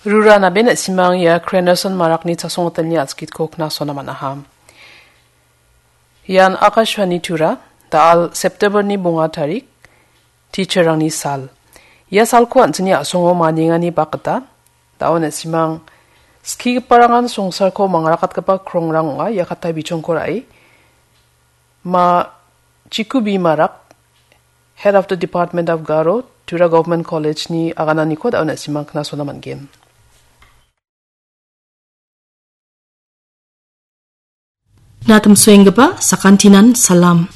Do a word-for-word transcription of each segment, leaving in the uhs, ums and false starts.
Rura nabe na·simang ia Krenerson Marakni chasongotelni a·skitko knasona man·aha. Ian Akashvani Tura, da·al September-ni bonga tarik, teacher-rangni sal. Ia salko an·chingni a·songo maniengani bak gita, da·o na·simang skigiparangan songsarko mangrakatgipa krongrang ong·a, ia katta bichongko ra·e. Ma Chikubi Marak, Head of the Department of Garo, Tura Government College-ni agananiko da·o na·simang knasona man·gen. Natimsoenggipa sakantinan salam.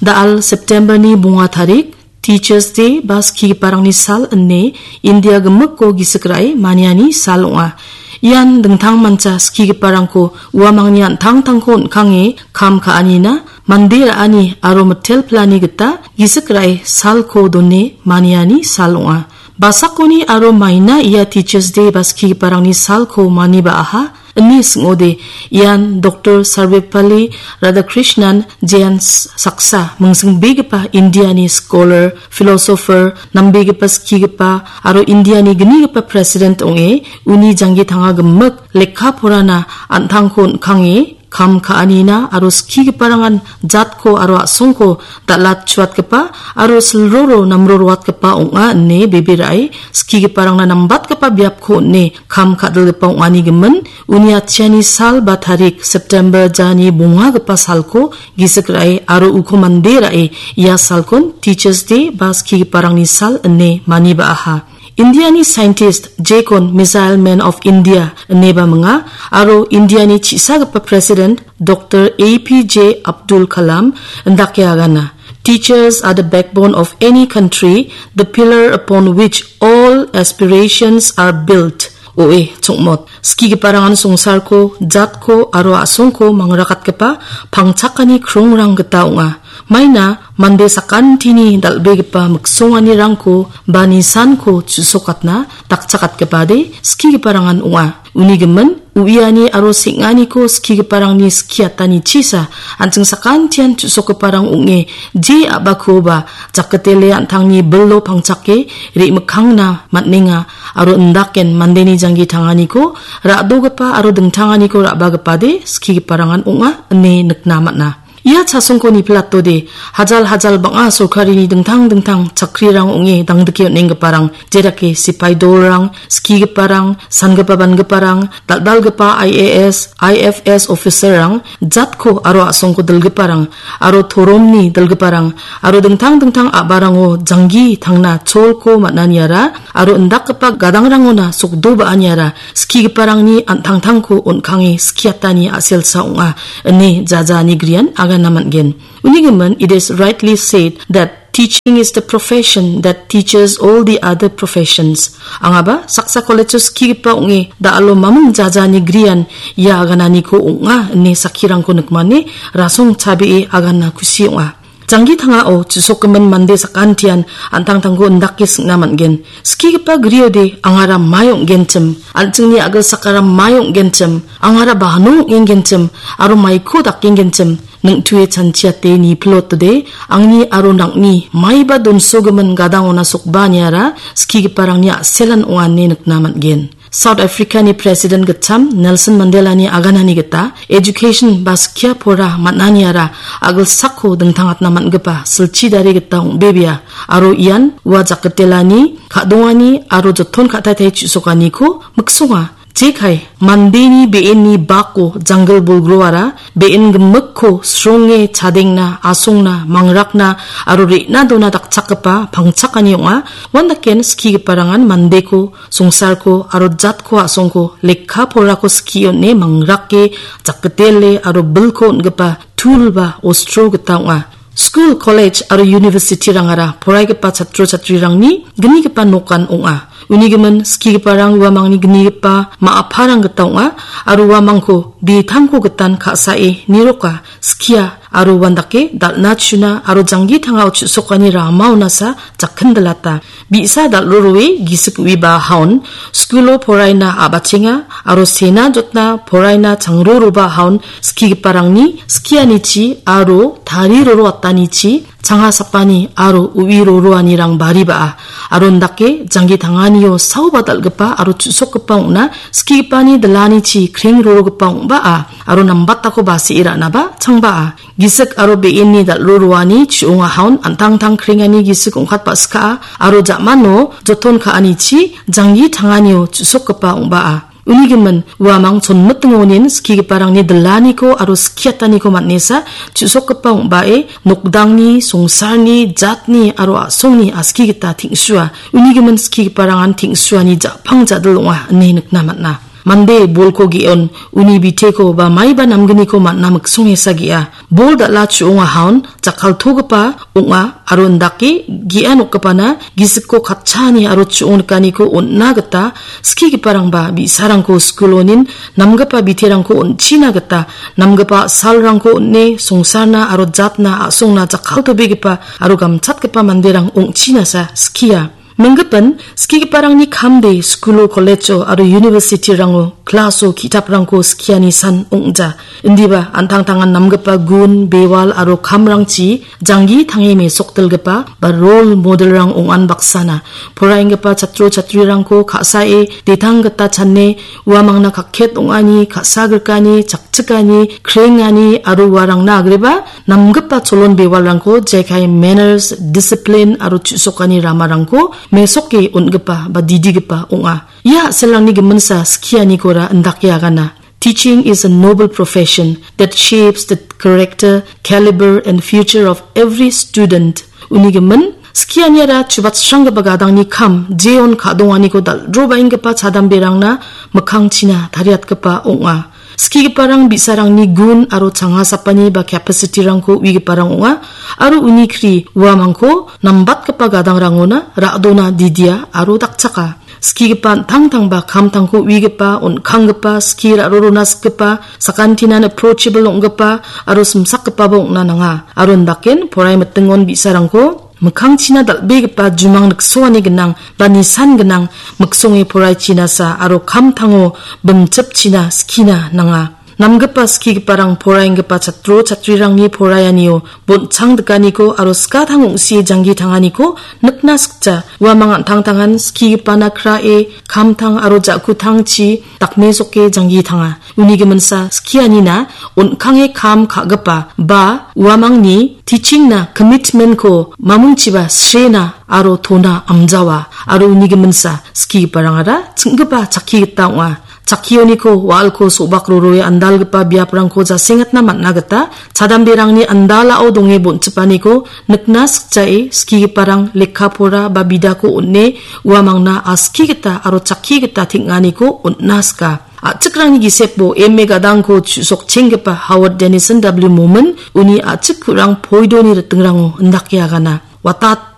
Da·al September-ni bonga tarik, Teachers Day ba skigiparangni sal ine India gimikko gisik ra·e maniani sal ong·a. Ian dingtangmancha skigiparangko uamangni an·tangtangko on·kange kam ka·anina, mande ra·ani aro mitel pilani gita gisik ra·e salko done maniani sal ong·a. Basakoni aro maina ia Teachers Day ba skigiparangni salko maniba aha, ine sing·ode, ian Doktor Sarvepalli Radhakrishnan jean s-, saksa mingsingbegipa Indiani scholar, philosopher, nambegipa skigipa aro Indiani gnigipa president ong·e, uni janggi tanga gimik lekka porana an·tangko on·kange, kam ka·anina aro skigiparangan jatko aro a·songko dal·atchuatgipa aro silroro namroroatgipa ong·a ine bebe ra·e skigiparangna nambatgipa biapko on·e kam ka·dilgipa ong·ani gimin uni atchiani sal ba tarik September jani bongagipa salko gisik ra·e aro uko mande ra·e ia salkon Teachers Day ba skigiparangni sal ine maniba aha. Indiani scientist jekon Missile Man of India ineba minga aro Indiani chisagipa President Doktor A P J Abdul Kalam indake agana. Teachers are the backbone of any country, the pillar upon which all aspirations are built. O·e, chongmot. Skigiparangan songsarko, jatko aro a·songko mangrakatgipa pangchakani krongrang gita ong·a. Maina mande sakantini dal·begipa miksonganirangko ba nisanko chu·sokatna dakchakatgipade skigiparangan ong·a. Uni gimin, uiani aro seng·aniko skigiparangni skiatanichisa, an·ching sakantian chu·sokgiparang ong·e, je a·bakoba jakgitele an·tangni bilo pangchake re·mikkangna man·enga, aro indaken mandeni janggi tanganiko ra·dogipa aro dingtanganiko ra·bagipade skigiparangan ong·a ine nikna man·a. Ia chasongko niplatode, hajal-hajal bang·a sorkarini dingtang-dingtang chakrirang ong·e dangdike on·enggiparang, jedake sipai dolrang, skigiparang, sangipa bangiparang, dal·dalgipa I A S, I F S officer-rang, jatko aro a·songko dilgiparang, aro toromni dilgiparang, aro dingtang-dingtang a·barango janggi tangna cholko man·aniara, aro indakgipa gadangrangona sokdo ba·aniara skigiparangni an·tangtangko on·kange skiatani a·selsa ong·a, ine jaja ani grian agana man·gen. Uni gimin, it is rightly said that teaching is the profession that teaches all the other professions. Angaba saksa college-o skigipa ong·e da·alo maming jaja ani grian ia agananiko ong·a ine sakkirangko nikmane rasong chabee agana kusi ong·a. Janggi tangao chu·sokgimin mande sakantian an·tangtangko indake sing·na man·gen. Skigipa griode angara mai ong·genchim, an·chingni a·gilsakara mai ong·genchim, angara bano ong·engenchim, aro maiko dakengenchim, ning·tue chanchiate nipilotode, angni aro nang·ni maiba donsogimin gadangona sokba niara skigiparangni a·selan ong·a ine nikna man·gen. South Africa-ni President gitcham Nelson Mandela-ni aganani gita, education ba skia pora man·aniara a·gilsako dingtangatna man·gipa silchi dare gita ong·bebea, aro ian ua jakgitelani, ka·dongani aro joton ka·taitai chu·sokaniko miksonga. Jekai, mandeni be·enni bako janggil bolgroara be·en gimikko sronge chadengna, asongna, mangrakna aro re·na dona dakchakgipa pangchakani ong·a. Uandaken skigiparangan mandeko songsarko aro jatko a·songko lekka porako skie on·e mangrake jakgitele aro bilko on·gipa tul ba ostro gita ong·a. Skul, kolej aro university-rangara poraigipa chatro chatrirangni gnigipa nokan ong·a. Uni gimin skigiparang uamangni gnigipa ma·aparang gita ong·a aro uamangko ditangko gitan ka·sae niroka, skia aro uandake dal·na chuna aro janggi tangao chu·sokani ramaonasa jakkindilata. Bi·sa dal·roroe gisik uiba haon, skulo poraina a·bachenga aro sena jotna poraina changroroba haon skigiparangni skianichi aro tariroroatanichi changa sapani aro uwi roroanirang bariba·a. Aro indake janggi tanganio saoba dal·gipa aro chu·sokgipa ong·na skigipani dilanichi kreng rorogipa ong·baa. Aro nambatako basee ra·naba changba'a. Gisik aro be·enni dal·ro roani chu·onga haon an·tangtang krengani gisik ong·katba skaa aro ja·mano joton ka·anichi janggi tanganio chu·sokgipa ong·baa. Uni gimin, uamang chonmitingonin skigiparangni dilaniko aro skiataniko man·esa chu·sokgipa ong·bae nokdangni, songsarni, jatni aro a·songni aski gita teng·sua. Uni gimin skigiparangan teng·suani ja·pang ja·dil ong·a ine nikna man·a. Mande bolko ge·on uni biteko ba maiba namgniko man·na miksongesa ge·a. Bol dal·a chu·onga haon jakkaltogipa ong·a aro indake ge·a nokgipana gisikko katchaani aro chu·ong nikaniko on·na gita skigiparangba bi·sarangko skulonin namgipa biterangko on·china gita namgipa a·salrangko on·e songsarna aro jatna a·songna jakkaltobegipa aro gamchatgipa manderang ong·chinasa skia. Minggipan, skigiparangni kamde skulo, kolejo aro university-rango, klaso, ki·taprangko skiani san ong·ja. Indiba, an·tangtangan namgipa gun, bewal aro kamrangchi janggi tange mesokdilgipa ba role model-rang ong·an baksana. Poraenggipa chatro chatrirangko ka·sae detang gita chane uamangna kakket ong·ani, ka·sa grikani, chakchikani, krengani aro uarangna agreba namgipa cholon bewalrangko jekai manners, discipline aro chu·sokani ramarangko mesoke on·gipa ba didigipa ong·a. Ia a·selrangni giminsa skianikora indake agana. Teaching is a noble profession that shapes the character, caliber and future of every student. Uni gimin, skianiara chubatsranggipa gadangni kam, jeon ka·donganiko dal·drobaenggipa chadamberangna mikkangchina tariatgipa ong·a. Skigiparang bi·sarangni gun aro changa sapani ba capacity-rangko uigiparang ong·a, aro uni kri uamangko nambatgipa gadangrangona ra·dona didia aro dakchaka. Skigipa an·tangtangba kamtangko uigipa, on·kanggipa, skie ra·rorona sikgipa, sakantinan approachable ong·gipa aro simsakgipaba ong·na nanga. Aro indaken porai mitingon bi·sarangko mikkangchina dal·begipa jumang niksoani gnang ba nisan gnang miksonge poraichina sa aro kamtango bimchipchina skina nanga. Namgipa skigiparang poraenggipa chatro chatrirangni poraianio bonchangdikaniko aro skatang ong·sie janggi tanganiko nikna sikja. Uamang an·tangtangan skigipana krae kamtang aro ja·kutangchi dakmesoke janggi tanga. Uni giminsa skianina on·kange kam ka·gipa ba uamangni teaching-na commitment-ko mamungchiba srena aro tona amjawa aro uni giminsa skigiparangara ching·gipa chakki gita ong·a. Chakkioniko wa·alko so·bak roroe andalgipa biaprangko jasengatna man·a gita chadamberangni andalao donge bonchipaniko nikna sikjae skigiparang lekka pora ba bidako on·e uamangna aski gita aro chakki gita teng·aniko on·na sika. A·chikrangni gisepo M A gadangko chu·sokchenggipa Howard Dennison W Momin uni a·chik ku·rang poidoni ritingrango indake agana. Watat